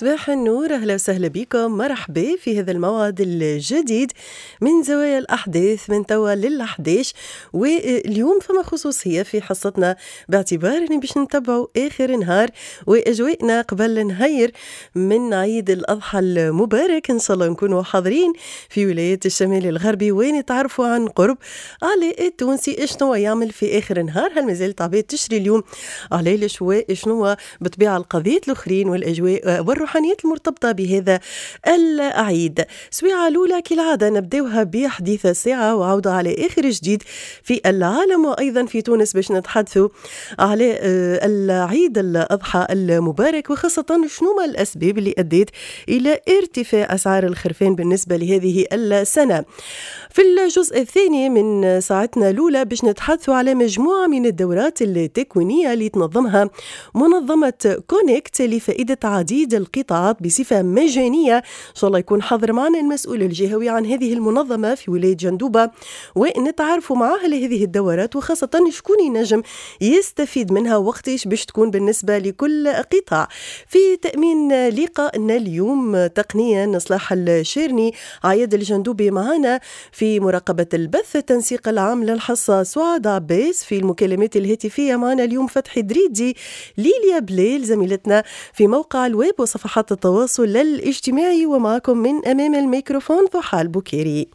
صباح النور، أهلا وسهلا بكم، مرحبا في هذا الموعد الجديد من زوايا الأحداث من توا للأحداش. واليوم فما خصوصية في حصتنا باعتبار أني باش نتبعوا آخر نهار وأجواءنا قبل نهير من عيد الأضحى المبارك. إن شاء الله نكونوا حاضرين في ولايات الشمال الغربي ونتعرفوا عن قرب على التونسي شنو يعمل في آخر نهار، هل مازالت عباد تشري اليوم على شنو بطبيعة القضية الأخرين والأجواء والروحانيات المرتبطة بهذا العيد. سويعة الأولى كالعادة نبداوها بحديث الساعة وعودة على آخر جديد في العالم وأيضا في تونس باش نتحدثوا على العيد الأضحى المبارك، وخاصة شنو ما الأسباب اللي أدت إلى ارتفاع أسعار الخرفان بالنسبة لهذه السنة. في الجزء الثاني من ساعتنا الأولى باش نتحدثوا على مجموعة من الدورات التكوينية اللي تنظمها منظمة كونكت لفائدة عديد القطاعات بصفة مجانية. إن شاء الله يكون حاضر معنا المسؤول الجهوي عن هذه المنظمة في ولاية جندوبة ونتعرفوا معاه لهذه الدورات، وخاصة شكون ينجم يستفيد منها وقتاش باش تكون بالنسبة لكل قطاع. في تأمين لقائنا اليوم تقنيا صلاح الشيرني، عياد الجندوبي معنا في مراقبة البث، التنسيق العام للحصة سعاد عباس، في المكالمات الهاتفية معنا اليوم فتحي دريدي، ليليا بليل زميلتنا في موقع الويب وصفحات التواصل الاجتماعي، ومعكم من أمام الميكروفون ضحى البكيري.